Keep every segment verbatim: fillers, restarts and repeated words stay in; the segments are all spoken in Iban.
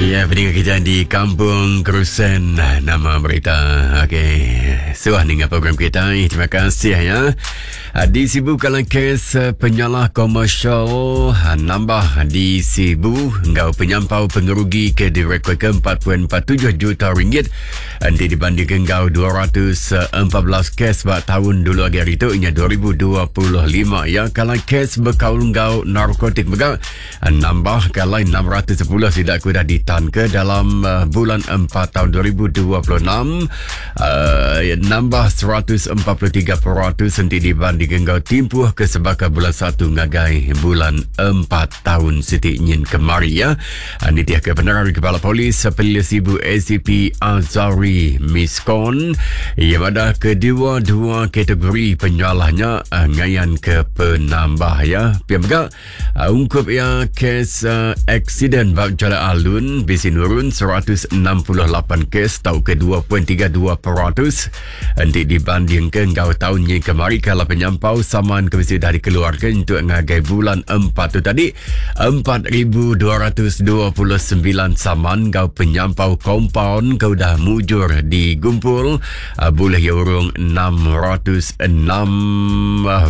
Ya, pendengar kita di Kampung Kerusen, nama berita. Okey, suah dengan program kita. Terima kasih ya. Di Sibu kalau kes penyalah komersial nambah di Sibu ngau penyampau pengerugi ke direkod ke empat perpuluhan empat tujuh juta ringgit. Nanti dibandingkan ngau dua ratus empat belas kes buat tahun dulu lagi hari itu, ianya dua ribu dua puluh lima ya. Kalau kes berkaul ngau narkotik juga nambah kalau enam ratus sepuluh tidak kuda ditan ke dalam uh, bulan empat tahun dua ribu dua puluh enam, uh, nambah seratus empat puluh tiga peratus nanti dibandingkan ngau timpuh ke sebaka bulan satu ngagai bulan empat tahun siti nyin kemari ya. Ini dia ke penerang Kepala Polis Pelilih Sibu A C P Azari Miskon yang ada kedua-dua kategori penyalahnya uh, ngayan ke penambah ya. Pihak juga uh, ungkup ya kes uh, aksiden bab jalan alun bisi nurun seratus enam puluh lapan kes tau ke dua perpuluhan tiga dua peratus nanti dibandingkan ngau tahun yang kemari. Kalau penyampau saman ke mesti dah dikeluarkan untuk ngagai bulan empat tu tadi empat ribu dua ratus dua puluh sembilan saman ngau penyampau kompaun kau dah mujur digumpul uh, boleh ya urung enam ratus enam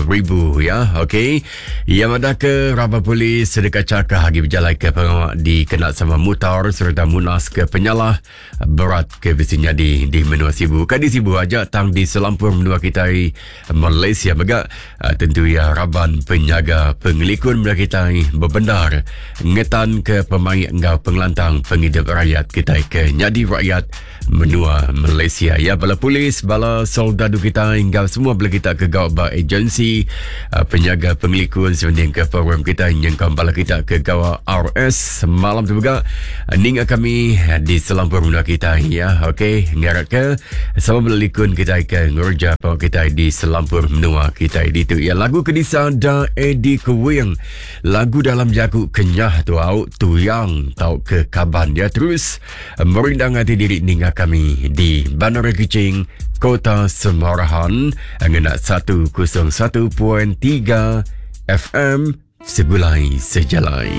ribu ya. Okey, yang ada ke Raban Polis dekat cakah lagi berjalan ke pengawal dikena sama mutar serta munas ke penyalah berat ke besinya di, di menua Sibu. Kan di Sibu aja tang di selampur menua kita Malaysia megak tentu ya raban penyaga pengelikun menua kita berbendar ngetan ke pemain engau pengelantang penghidup rakyat kita ke nyadi rakyat menua Malaysia ya. Bala polis, bala soldadu kita hingga semua bala kita ke gawak ba agensi penyaga pengelikun sebanding ke program kita yang bala kita ke gawak R S malam tu juga ninga kami di selampur menua kita ya. Okey, ngarap ke sama belikun kita ke ngurja pa kita di selampur menua kita di tu ya. Lagu Kedisa da Eddie Kuwing, lagu dalam jaku kenyah tu au tuyang tau ke kaban dia terus merindang hati diri ninga kami di Bandar Kuching, Kota Semarahan, ngena seratus satu perpuluhan tiga F M Segulai Sejalai.